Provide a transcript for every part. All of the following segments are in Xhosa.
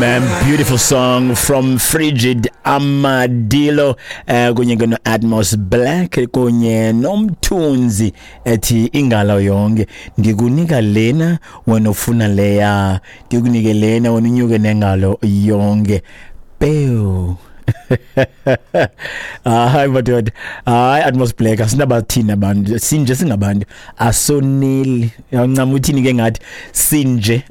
Man, beautiful song from Frigid Amadilo kunye ke no-Atmos Black kunye noMthunzi ethi ingalo yonke. Ndikunika lena, wena ufuna leya, ndikunike lena, wena unyuke nengalo yonke. Pew. Hayi madoda, hayi Atmos Black, asinabathini abantu, sinje singabantu asoneli. Yancama uthini ke ngathi sinje.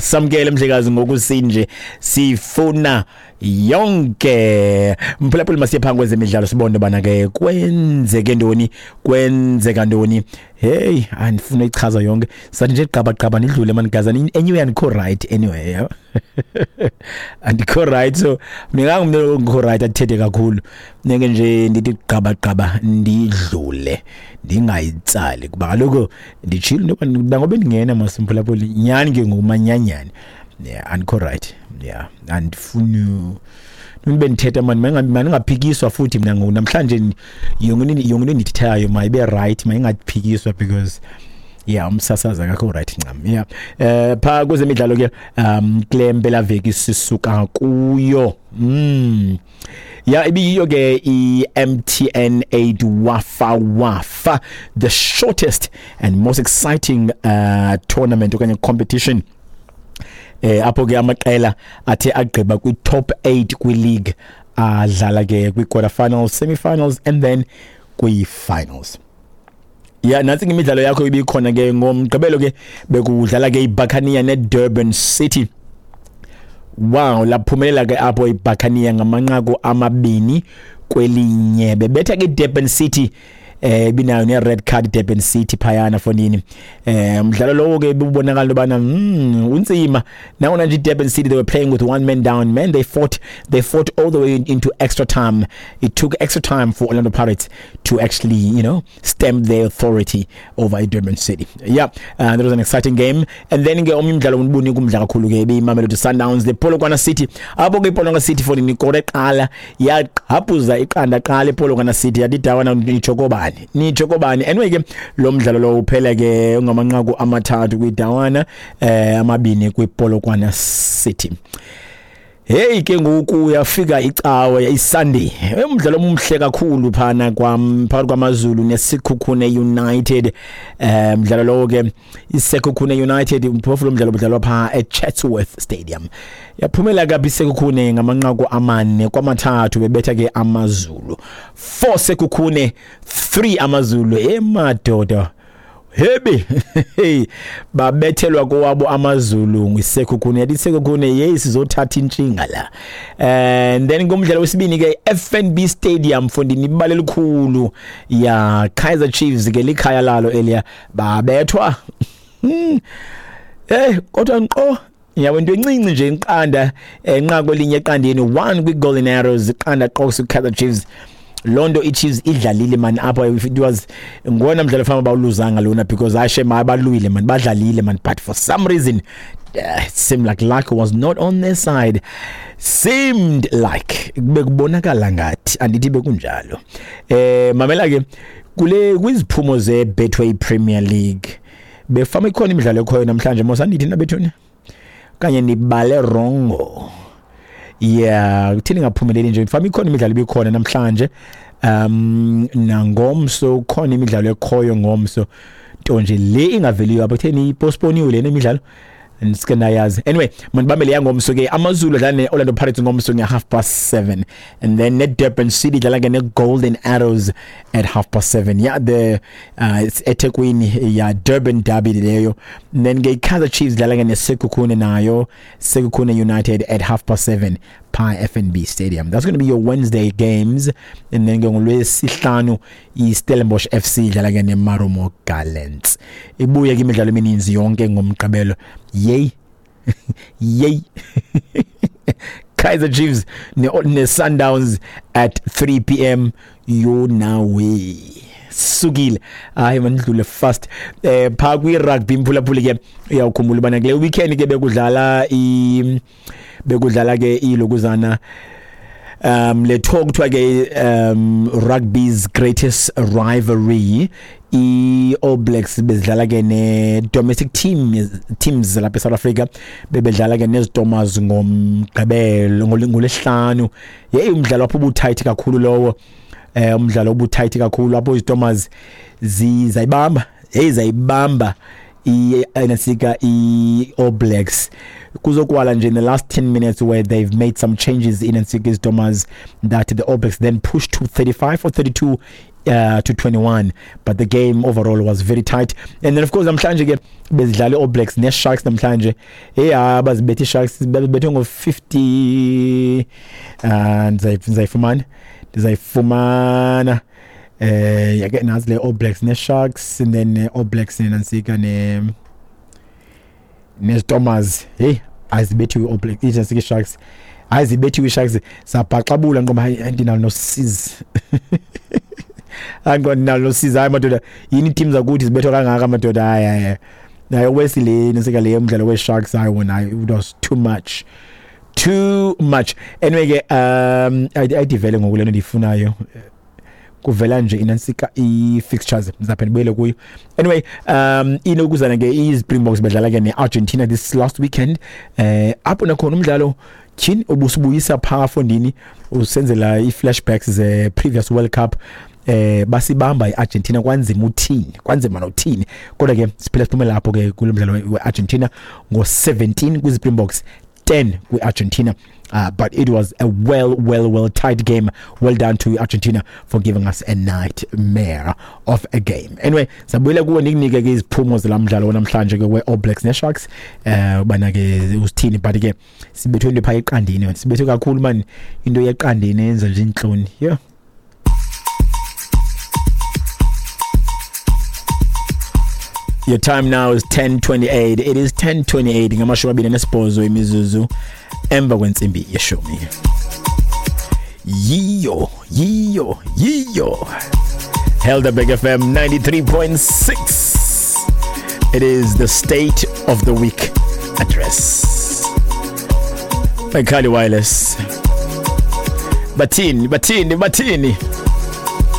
Samkele mhlekazi ngoku sinje sifuna yonke. Mphulaphuli, masiye phambi kwezemidlalo sibone bana ke kwenzeke ntoni, kwenzeka ntoni. Hey, andifuna ichaza yonke, sathi nje gqaba gqaba nidlule manigazana. Anyway, andikho right anyway, yeah. Andikho right, so mina ngumntu ongikho right athethe kakhulu. Neke nje ndithi gqaba gqaba ndidlule, ndingayitsali kuba kaloku nditshilo into yoba ngoba ndingena masimphulaphuli nyhani ke ngumanyanyani. Yeah, andikho right, yeah, andifuni nibe ndithetha mani, mandingaphikiswa futhi mna ngoku namhlanje. Yonke into endiyithethayo mayibe right, mayingaphikiswa because yeah, umsasazi akakho right ncam. Yeah, pha kwezemidlalo ke kule mpelaveki sisuka kuyo, ya ibiyiyo ke i-MTN 8 Wafa Wafa, the shortest and most exciting tournament okanye competition, apho ke amaqela athe agqiba kwi-top 8 kwi-league adlala ke kwi-quarter finals, semi-finals and then kwi-finals. Ya, nantsi ke imidlalo yakho ibikhona ke ngoMgqibelo. Ke bekudlala ke iBuccaneer neDurban City. Wow, laphumelela ke apho iBuccaneer ngamanqaku 2-1, bebetha ke iDurban City. Binayo ne red card Durban City phayana fonini. Umdlalo lowo ke bubonakala ubana unzima nangona nje Durban City, they were playing with one man down, man. They fought all the way into extra time. It took extra time for Orlando Pirates to actually stamp their authority over Durban City. Yeah, that was an exciting game. And then ke omnye umdlalo ubunika umdla kakhulu ke beyiMamelodi Sundowns, the Polokwane City. Apho ke iPolokwane City fonini ikore qala, yaqhaphuza iqanda qala iPolokwane City, yathi dawana nitsho kobani, nitsho kobani. Anyway ke lo mdlalo lo uphela ke ungamanqaku 3 kwidawana, 2 kwiPolokwane City. Hey, ke ngoku uyafika icawe, iSunday, umdlalo omhle kakhulu phana kwam phakathi kwamaZulu neSekhukhune United. Umdlalo lowo ke, iSekhukhune United, umphofu lo mdlalo budlalwa pha eChatsworth Stadium. Yaphumela kabi iSekhukhune ngamanqaku 4-3, bebetha ke amaZulu, 4 Sekhukhune, 3 amaZulu. Emadoda hebe, hey, babethelwa kowabo amaZulu ngiSekhukhune. Yathi iSekhukhune, hey, sizothatha intshinga la. And then ngomdlalo wesibini ke, FNB Stadium fondini, ibala elikhulu ya Kaizer Chiefs ke, likhaya lalo eliya, babethwa. Kodwa nqo yabo into encinci nje, iqanda, enqako 1-0, 1 kwi-Golden Arrows, iqanda qo Kaizer Chiefs. Lonto iChiefs idlalile man apho. It was ngona mdlalo fama bawuluzanga lona because ashe mabalwile man, badlalile man, but for some reason it seemed like luck was not on their side. Seemed like, bekubonakala ngathi, andithi bekunjalo. Mamela ke kule kwiziphumo ze Betway Premier League, befama ikhona imidlalo ekhoyo namhlanje mos, andithi nabethuni kanye nibale wrongo. Yeah, kuthini ngaphumeleli nje, fama ikhona imidlalo ibikhona namhlanje, nangomso khona imidlalo ekhoyo ngomso, nto nje le ingaveliyo apho. Kutheni ipostponiwe lena imidlalo? Ndisike ndayazi. Anyway, mandibambele yangomso ke. AmaZulu adlala ne-Orlando Pirates ngomso nge-7:30, and then ne-Durban City idlala ke ne-Golden Arrows at 7:30. Yeah, the it's eThekwini ya, Durban derby leyo. And then ke i-Kaizer Chiefs idlala ke neSekhukhune nayo, Sekhukhune United at 7:30 pha FNB Stadium. That's going to be your Wednesday games. And then ke ngolwesihlanu iStellenbosch FC idlala ke neMarumo Gallants. Ibuye ke imidlalo emininzi yonke ngoMgqibelo. Yey yey, Kaizer Chiefs ne Sundowns at 3 p.m. Yonawe sukile. Hayi, mandidlule fast. Pha kwi rugby, mphulaphuli, ke uyawukhumbula ubana kule weekend ke bekudlala ke ilokuzana Le talk kuthiwa ke rugby's greatest rivalry, i-All Blacks bezidlala ke ne-domestic teams lapha eSouth Africa, bebedlala ke neZitomers ngomgqibelo, ngolesihlanu. Hey, umdlalo apho ubutight kakhulu lowo, umdlalo obutight kakhulu apho iZitomers zayibamba, hey, zayibamba i-nasika i-All Blacks kuzokwala nje in the last 10 minutes, where they've made some changes in Nsika Stormers that the All Blacks then pushed to 35 or 32 to 21, but the game overall was very tight. And then of course namhlanje ke bezidlala i-All Blacks ne-Sharks namhlanje. Hey, bazibethe i-Sharks, babethe ngo-50. Ndizayifumana yake nazi le All Blacks ne-Sharks and then All Blacks nenansika ne neStormers. Hey, azibethiwe i-All Blacks, itsensika i-Sharks, azibethiwe i-Sharks, sabhaxabula ngoba andinalo nosizi, andinalo nosizi. Hayi madoda, yini team zakuthi zibethwa kangaka madoda? Hayi hayi nayo wesile nesika le umdlalo we-Sharks, hayi wona, it was too much, too much. Anyway ke ayidivele ngoku lento ndiyifunayo, kuvela nje inansika i-fixtures, ngizaphinda ndibuyele kuyo. Anyway, inokuzana ke i-Springboks bedlala ke ne-Argentina this last weekend, apho nakhona umdlalo tyhini ubusibuyisa phaa fondini, usenzela i-flashbacks ze-previous World Cup. Basibamba iArgentina kwanzima uthini, kwanzima nothini, kodwa ke siphila siphume lapho ke kulo mdlalo weArgentina ngo-17 kwiSpringboks, 10 kwi-Argentina. But it was a well, well, well tight game. Well done to Argentina for giving us a nightmare of a game. Anyway, sabuyela kuwe nikunike ke iziphumo zelamdlalo wanamhlanje ke we-All Blacks ne-Sharks, ubana ke usithini, but ke sibethwe into phaa eqandeni, sibethwe kakhulu man, into yeqandeni yenza nje intloni, yeah. Your time now is 10:28. It is 10:28, 28 imizuzu emva kwentsimbi yeshumi. Yiyo, yiyo, yiyo. Helderberg FM 93.6. It is the State of the Week address by Kali Wireless. Batini, batini, batini.